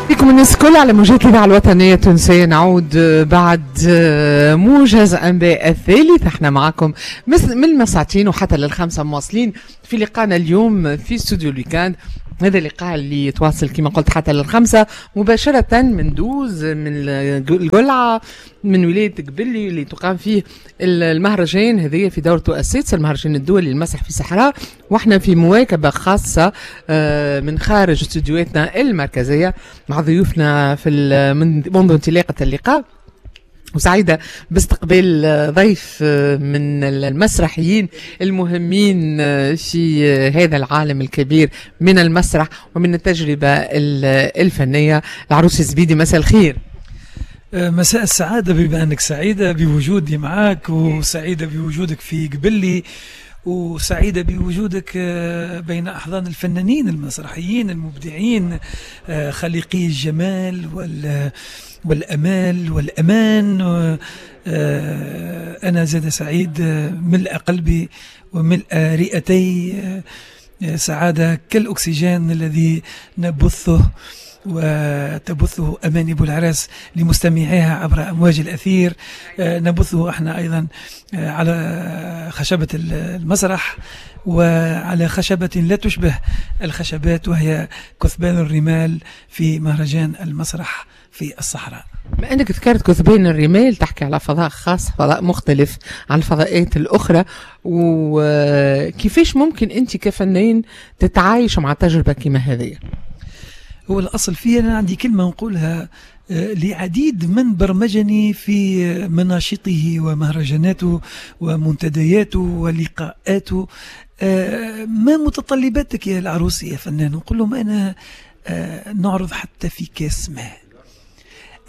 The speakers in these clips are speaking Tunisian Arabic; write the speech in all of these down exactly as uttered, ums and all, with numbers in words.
بكم الناس الكل على موجات الإذاعة الوطنية التونسية. نعود بعد موجز أنباء الثالث، احنا معكم من مساعتين وحتى للخمسة مواصلين في لقاءنا اليوم في استوديو ال week-end. هذا اللقاء اللي يتواصل كما قلت حتى للخمسة مباشرة من دوز من القلعة من ولاية قبلي اللي تقام فيه المهرجان هذه في دورته السادسة، المهرجان الدولي للمسرح في الصحراء، واحنا في مواكبة خاصة من خارج استوديوهاتنا المركزية مع ضيوفنا في منذ انطلاقة اللقاء. وسعيدة باستقبال ضيف من المسرحيين المهمين في هذا العالم الكبير من المسرح ومن التجربة الفنية، العروسي الزبيدي. مساء الخير. مساء السعادة، بما أنك سعيدة بوجودي معك وسعيدة بوجودك في قبلي وسعيدة بوجودك بين أحضان الفنانين المسرحيين المبدعين خالقي الجمال وال والأمال والأمان. أنا زاد سعيد، ملء قلبي وملء رئتي سعادة كالأكسجين الذي نبثه وتبثه أماني بولعراس لمستمعيها عبر أمواج الأثير، نبثه احنا أيضا على خشبة المسرح وعلى خشبة لا تشبه الخشبات وهي كثبان الرمال في مهرجان المسرح في الصحراء. بما أنك ذكرت كثبان الرمال، تحكي على فضاء خاص، فضاء مختلف عن الفضاءات الأخرى، وكيفاش ممكن أنت كفنان تتعايش مع تجربة كما هذه؟ هو الأصل فيه أنا عندي كلمة نقولها لعديد من برمجني في مناشطه ومهرجاناته ومنتدياته ولقاءاته، ما متطلباتك يا العروسي يا فنان؟ نقول لهم أنا نعرض حتى في كاس ماء،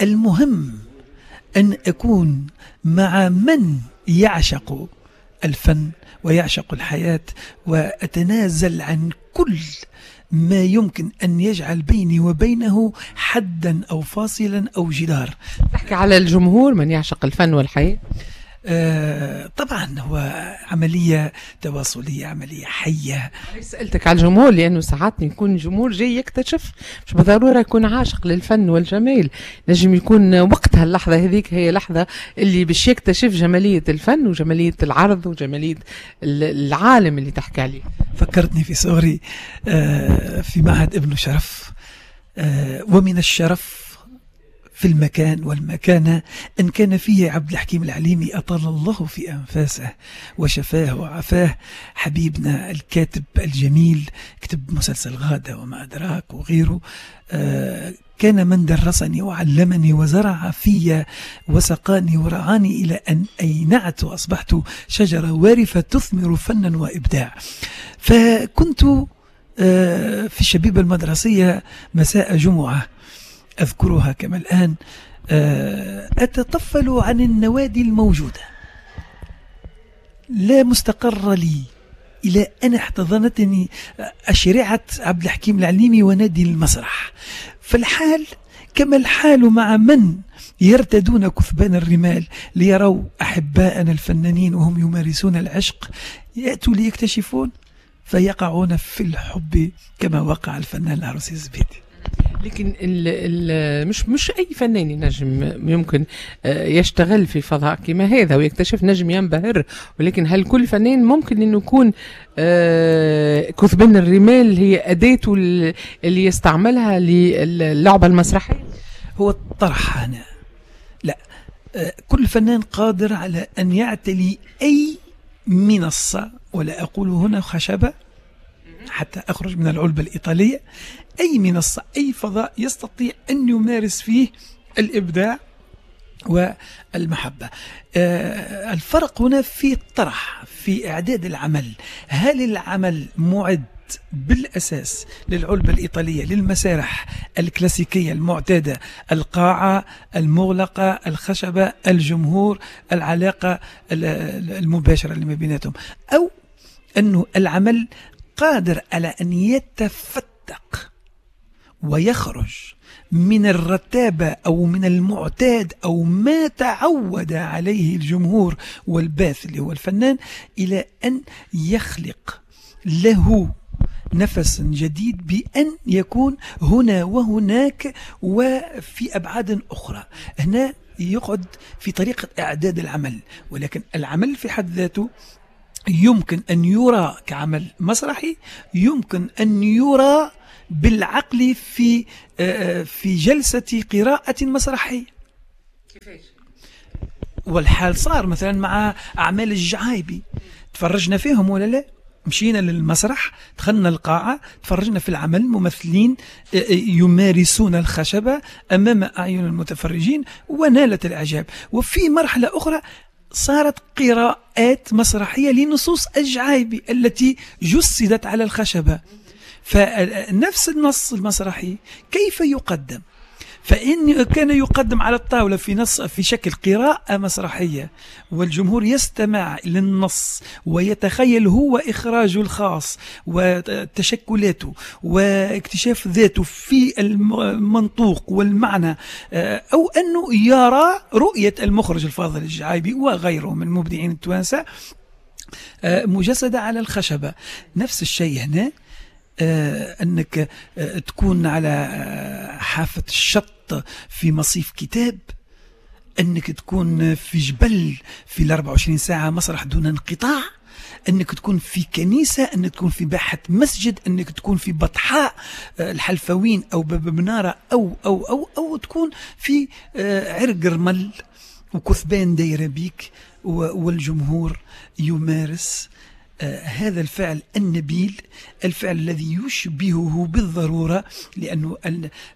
المهم أن أكون مع من يعشق الفن ويعشق الحياة، وأتنازل عن كل ما يمكن أن يجعل بيني وبينه حدا أو فاصلا أو جدار. تحكي على الجمهور من يعشق الفن والحياة؟ آه طبعا هو عملية تواصلية، عملية حية. سألتك على الجمهور لأنه ساعات يكون جمهور جاي يكتشف، مش بالضرورة يكون عاشق للفن والجمال، نجم يكون وقتها اللحظة هذيك هي لحظة اللي باش يكتشف جمالية الفن وجمالية العرض وجمالية العالم اللي تحكي عليه. فكرتني في صغري آه في معهد ابن شرف، آه ومن الشرف في المكان والمكانة إن كان فيه عبد الحكيم العليمي أطال الله في أنفاسه وشفاه وعفاه، حبيبنا الكاتب الجميل، كتب مسلسل غادة وما أدراك وغيره، آه كان من درسني وعلمني وزرع في وسقاني ورعاني إلى أن أينعت وأصبحت شجرة وارفة تثمر فنا وإبداع. فكنت آه في الشبيبة المدرسية مساء جمعة أذكرها كما الآن، أتطفل عن النوادي الموجودة، لا مستقر لي، إلى أن احتضنتني أشرعة عبد الحكيم العليمي ونادي المسرح. فالحال كما الحال مع من يرتدون كثبان الرمال ليروا أحباءنا الفنانين وهم يمارسون العشق، يأتوا ليكتشفون فيقعون في الحب كما وقع الفنان العروسي الزبيدي. لكن ال ال مش مش اي فنان ينجم يمكن يشتغل في فضاء كما هذا ويكتشف، نجم ينبهر، ولكن هل كل فنان ممكن انه يكون كثبان الرمال هي اداته اللي يستعملها للعبة المسرحية؟ هو الطرح هنا لا، كل فنان قادر على ان يعتلي اي منصة، ولا اقول هنا خشبه حتى أخرج من العلبة الإيطالية، أي منصة أي فضاء يستطيع أن يمارس فيه الإبداع والمحبة. آه الفرق هنا في الطرح، في إعداد العمل. هل العمل معد بالأساس للعلبة الإيطالية، للمسارح الكلاسيكية المعتادة، القاعة المغلقة، الخشبة، الجمهور، العلاقة المباشرة اللي ما بيناتهم، أو أنه العمل قادر على أن يتفتق ويخرج من الرتابة أو من المعتاد أو ما تعود عليه الجمهور والباث اللي هو الفنان، إلى أن يخلق له نفس جديد بأن يكون هنا وهناك وفي أبعاد أخرى. هنا يقعد في طريقة إعداد العمل، ولكن العمل في حد ذاته يمكن أن يرى كعمل مسرحي، يمكن أن يرى بالعقل في في جلسة قراءة مسرحية. كيفاش؟ والحال صار مثلا مع أعمال الجعايبي، تفرجنا فيهم ولا لا؟ مشينا للمسرح، دخلنا القاعة، تفرجنا في العمل، ممثلين يمارسون الخشبة أمام أعين المتفرجين ونالت الإعجاب. وفي مرحلة أخرى صارت قراءات مسرحية لنصوص الجعايبي التي جسدت على الخشبة. فنفس النص المسرحي كيف يقدم؟ فإن كان يقدم على الطاولة في نص في شكل قراءة مسرحية والجمهور يستمع للنص ويتخيل هو إخراجه الخاص وتشكلاته واكتشاف ذاته في المنطوق والمعنى، أو أنه يرى رؤية المخرج الفاضل الجعايبي وغيره من المبدعين التوانسة مجسدة على الخشبة. نفس الشيء هنا، أنك تكون على حافة الشط في مصيف كتاب، أنك تكون في جبل في الأربع وعشرين ساعة مسرح دون انقطاع، أنك تكون في كنيسة، أنك تكون في باحة مسجد، أنك تكون في بطحاء الحلفاوين أو باب منارة أو أو أو أو تكون في عرق رمل وكثبان دايرة بيك والجمهور يمارس آه هذا الفعل النبيل، الفعل الذي يشبهه بالضرورة، لأنه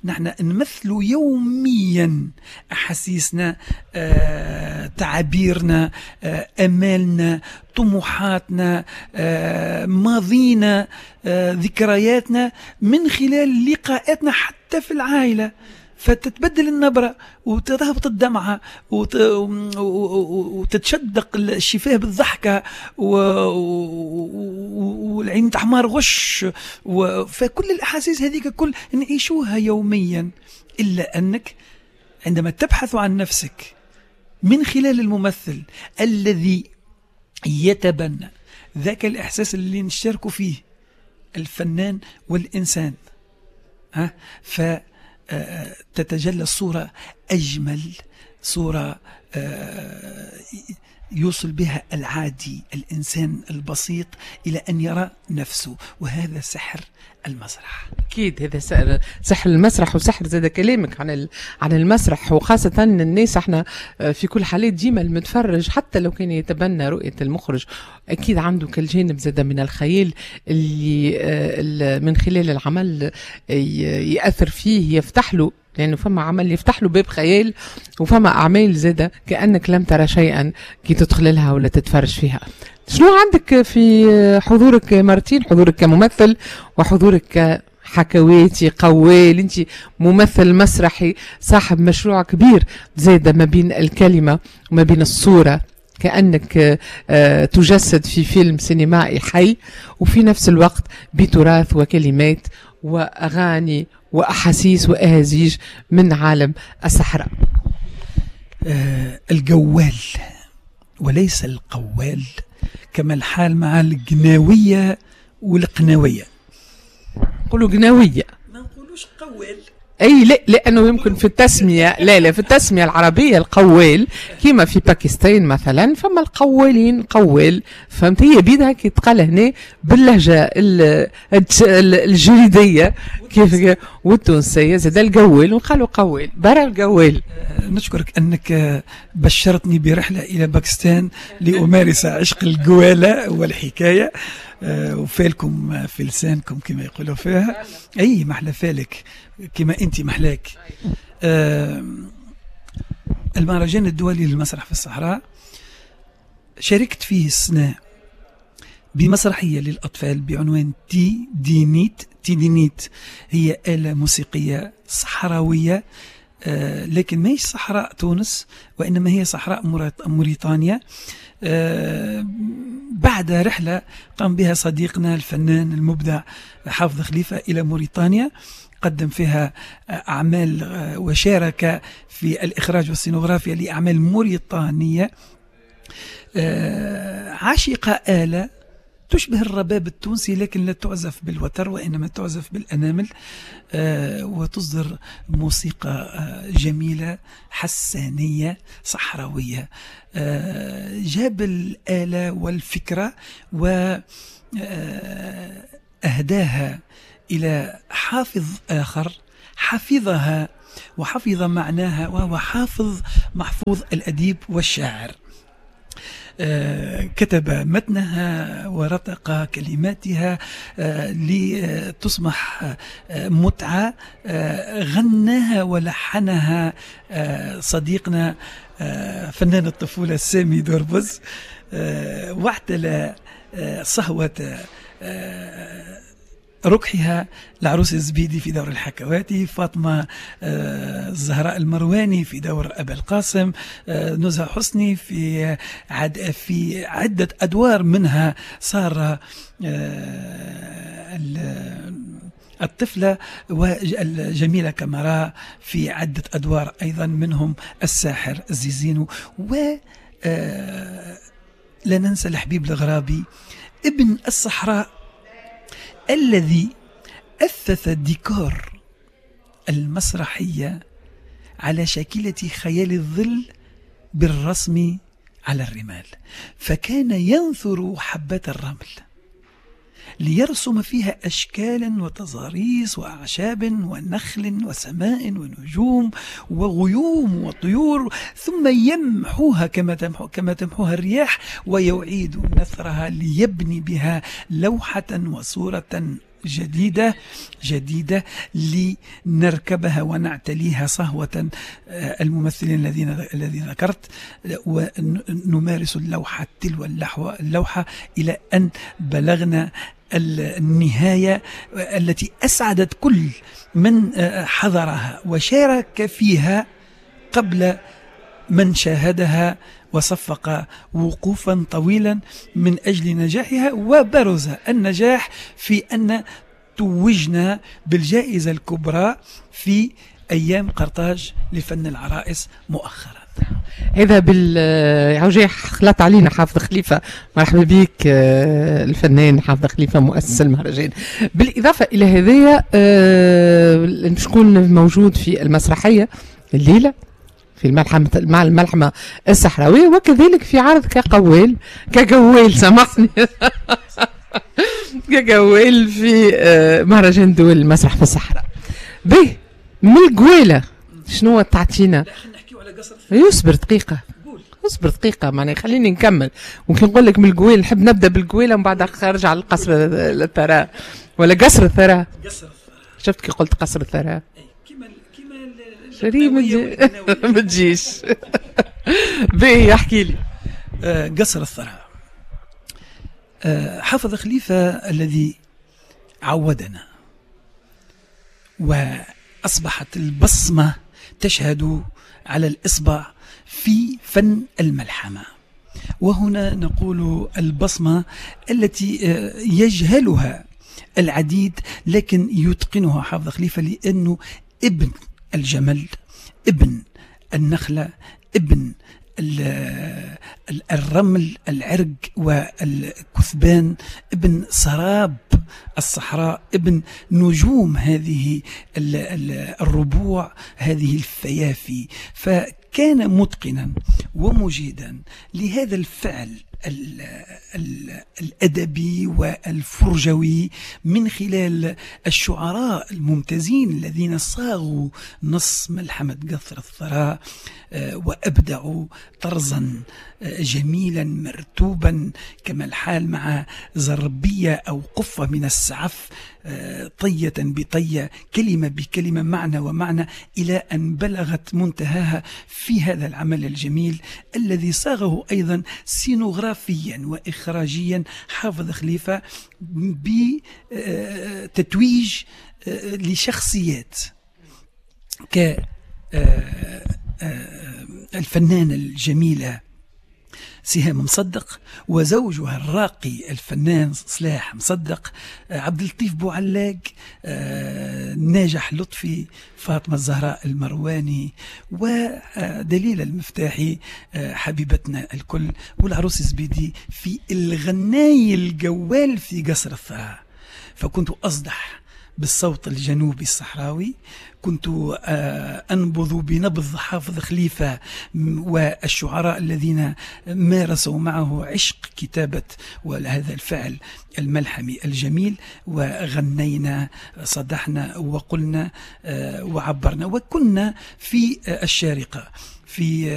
نحن نمثل يوميا أحاسيسنا، آه تعابيرنا، آه أمالنا، طموحاتنا، آه ماضينا، آه ذكرياتنا من خلال لقاءاتنا حتى في العائلة. فتتبدل النبرة وتهبط الدمعة وت... وتتشدق الشفاه بالضحكة و... والعين تحمر غش و... فكل الأحاسيس هذيك كل نعيشوها يوميا. إلا أنك عندما تبحث عن نفسك من خلال الممثل الذي يتبنى ذاك الإحساس اللي نشارك فيه الفنان والإنسان، ها ف تتجلى الصورة أجمل صورة يوصل بها العادي الإنسان البسيط إلى أن يرى نفسه، وهذا سحر المسرح. أكيد هذا سحر المسرح، وسحر زاد كلامك عن عن المسرح، وخاصة الناس احنا في كل حالات ديما المتفرج حتى لو كان يتبنى رؤية المخرج أكيد عنده كالجانب زاد من الخيال اللي من خلال العمل يأثر فيه، يفتح له، لأنه فما عمل يفتح له باب خيال، وفما أعمال زادة كأنك لم ترى شيئا كي تدخل لها ولا تتفرج فيها. شنو عندك في حضورك مارتين، حضورك كممثل وحضورك كحكواتي قوال، انت ممثل مسرحي صاحب مشروع كبير زادة ما بين الكلمة وما بين الصورة، كأنك تجسد في فيلم سينمائي حي، وفي نفس الوقت بتراث وكلمات وأغاني وأحاسيس وأهازيج من عالم الصحراء. آه الجوال وليس القوال، كما الحال مع القناوية والقناوية. نقولوا قناوية، ما نقولوش قوال. اي لا، لانه يمكن في التسمية، لا لا في التسمية العربية القوال كما في باكستان مثلا فما القوالين قوال، فهمت؟ هي بيدها كي تقال هنا باللهجة الجريديه كيف والتونسيه زاد القوال، وقالوا قوال برا القوال. نشكرك انك بشرتني برحله الى باكستان لامارس عشق القواله والحكاية، وفالكم في لسانكم كما يقولوا فيها. اي محلى فالك كما انت محلاك. آه المهرجان الدولي للمسرح في الصحراء شاركت فيه السنة بمسرحية للأطفال بعنوان تي دينيت. تي دينيت هي آلة موسيقية صحراوية، آه لكن ما هي صحراء تونس وإنما هي صحراء موريتانيا. آه بعد رحلة قام بها صديقنا الفنان المبدع حافظ خليفة إلى موريتانيا، قدم فيها أعمال وشارك في الإخراج والسينوغرافيا لأعمال موريتانية. عشق آلة تشبه الرباب التونسي لكن لا تعزف بالوتر وإنما تعزف بالأنامل، وتصدر موسيقى جميلة حسانية صحراوية. جاب الآلة والفكرة وأهداها إلى حافظ آخر حفظها وحفظ معناها، وهو حافظ محفوظ الأديب والشاعر. كتب متنها ورتق كلماتها لتصبح متعة، غناها ولحنها صديقنا فنان الطفولة سامي دوربز، واعتلى صهوة ركحها العروس الزبيدي في دور الحكواتي، فاطمة الزهراء المرواني في دور أبا القاسم، نزهة حسني في عد في عدة أدوار منها سارة الطفلة، والجميلة كاميرا في عدة أدوار أيضا منهم الساحر الزيزينو. و لا ننسى الحبيب الغرابي ابن الصحراء الذي أثث ديكور المسرحية على شاكلة خيال الظل بالرسم على الرمال، فكان ينثر حبات الرمل ليرسم فيها أشكالا وتضاريس وأعشاب ونخل وسماء ونجوم وغيوم وطيور، ثم يمحوها كما تمحو كما تمحوها الرياح، ويعيد نثرها ليبني بها لوحة وصورة جديدة جديدة لنركبها ونعتليها صهوة الممثلين الذين الذي ذكرت، ونمارس اللوحة تلو اللوحة إلى أن بلغنا النهاية التي أسعدت كل من حضرها وشارك فيها قبل من شاهدها وصفق وقوفا طويلا من أجل نجاحها. وبرز النجاح في أن توجنا بالجائزة الكبرى في أيام قرطاج لفن العرائس مؤخرا. هذا بال خلط علينا حافظ خليفة، مرحبا بك الفنان حافظ خليفة مؤسس المهرجان. بالإضافة إلى هذايا شكون موجود في المسرحية الليلة في الملحمة مع الملحمة الصحراوية، وكذلك في عرض كقوال كجوال سامحني كجوال في مهرجان دول المسرح في الصحراء. به من الجوالة شنو تعطينا؟ يصبر دقيقة، اصبر دقيقة معناها خليني نكمل. ممكن نقول لك من الجوال نحب نبدا بالجوالة ومن بعد نرجع للقصر الثراء ولا قصر الثراء. قصر الثراء، شفت كي قلت قصر الثراء؟ شري ما تجيش. باهي احكي لي. قصر الثراء، حافظ خليفة الذي عودنا وأصبحت البصمة تشهد على الإصبع في فن الملحمة. وهنا نقول البصمة التي يجهلها العديد لكن يتقنها حافظ خليفة، لأنه ابن الجمل، ابن النخلة، ابن الرمل، العرق والكثبان، ابن سراب الصحراء، ابن نجوم هذه الربوع، هذه الفيافي. فكان متقنا ومجيدا لهذا الفعل الأدبي والفرجوي من خلال الشعراء الممتازين الذين صاغوا نص ملحمة قصر الثراء وأبدعوا طرزا جميلا مرتوبا كما الحال مع زربية أو قفة من السعف، طية بطية، كلمة بكلمة، معنى ومعنى، إلى أن بلغت منتهاها في هذا العمل الجميل الذي صاغه أيضا سينوغرافيا وإخراجيا حافظ خليفة بتتويج لشخصيات ك الفنانة الجميلة سهام مصدق وزوجها الراقي الفنان صلاح مصدق، عبد اللطيف بوعلاق، ناجح لطفي، فاطمة الزهراء المرواني، ودليل المفتاحي حبيبتنا الكل، والعروس زبيدي في الغناي الجوال في قصر الثراء. فكنت أصدح بالصوت الجنوبي الصحراوي، كنت أنبض بنبض حافظ خليفة والشعراء الذين مارسوا معه عشق كتابة وهذا الفعل الملحمي الجميل، وغنينا صدحنا وقلنا وعبرنا. وكنا في الشارقة في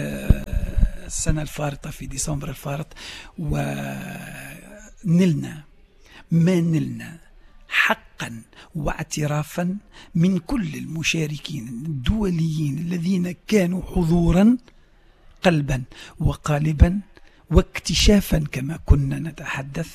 السنة الفارطة في ديسمبر الفارط، ونلنا ما نلنا حقا واعترافا من كل المشاركين الدوليين الذين كانوا حضورا قلبا وقالبا واكتشافا كما كنا نتحدث،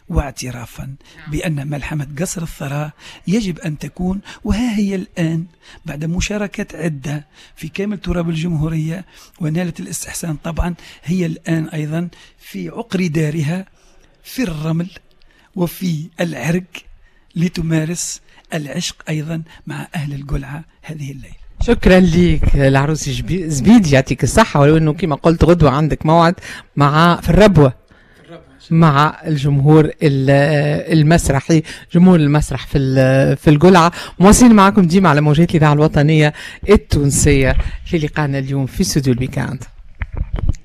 واعترافا بأن ملحمة قصر الثراء يجب أن تكون، وها هي الآن بعد مشاركات عدة في كامل تراب الجمهورية ونالت الاستحسان طبعا، هي الآن أيضا في عقر دارها في الرمل وفي العرق لتمارس العشق أيضا مع أهل القلعة هذه الليلة. شكرا لك العروسي زبيدي، يعطيك الصحة، ولو أنه كما قلت غدوة عندك موعد مع في الربوة مع الجمهور المسرحي، جمهور المسرح في في القلعة. مواصلين معكم ديما على موجات الإذاعة الوطنية التونسية في لقائنا اليوم في استوديو ال week-end.